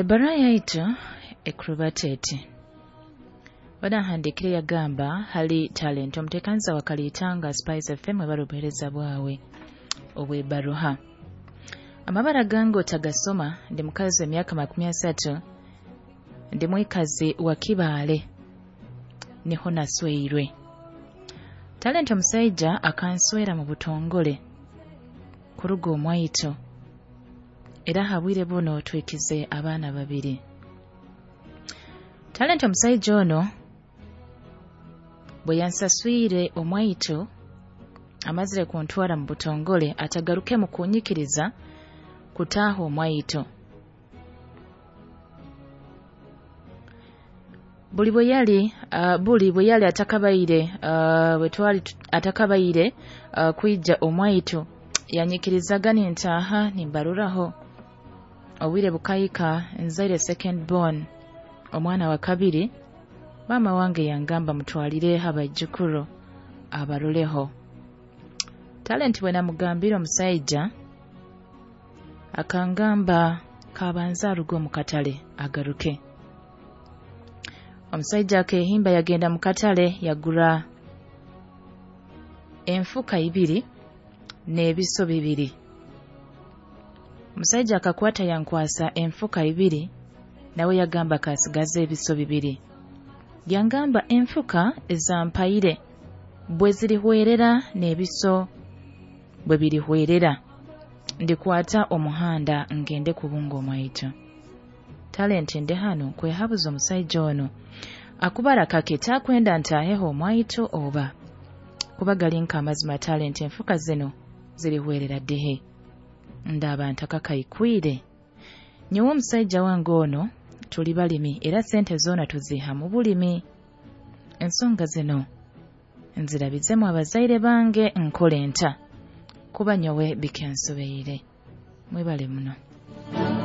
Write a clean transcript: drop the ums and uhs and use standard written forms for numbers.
Ebbaruha yaitu ekurubata eti: Banahandiikire yagamba, "Hali Talent, omuteekaniza wa Kaliitanga Spice FM, ebara obuheereza bwawe obw'ebbaruha. Amabara gange otagasoma. Ndi mukazi w'emyaka 30, ndi mwikazi wa Kibaale, niho nasweirwe. Talent, omusaija akanswera mu butongole kuruga omwaitu, era ha bwire buno twikize abaana babiri. Talent, omusaija ono bwe yansaswire omwaitu amazire kuntwara mu butongole, atagarukemu kunyikiriza kutaaha omwaitu. Buli bwe yali buli bwe yali atakabaire bwe twali atakabaire kwija omwaitu, yanyikirizaga nintaaha nimbaruraho. Obwire bukahika nzaire second born, omwana wa kabiri. Maama wange yangamba mutwalireho abaijukuru abaroleho. Talent, bwe namugambire, omusaija akangamba kabanza aruge omu katale agaruke. Omusaija akehimba yagenda mu katale, yagura enfuka ibiri n'ebiso bibiri. Omusaija akakwata yankwasa enfuka ibiri, nawe yagamba kasigaze ebiso bibiri. Yangamba enfuka ezampaire bwe zirihwerera n'ebiso bwe birihwerera, ndikwata omuhanda ngende kubunga omwaitu. Talent, ndi hanu nkwehabuza, omusaija ono akubara kake takwenda ntaaheho omwaitu oba kuba gali nk'amazima? Talent, enfuka zino zirihwerera dihe ndaba ntakakaikwire? Nyowe omusaija wange ono tuli balimi, era sente zoona tuziha mu bulimi. Ensonga zino nzirabizemu abazaire bange, nkole nta? Kuba nyowe bikansobeire. Mwebale muno."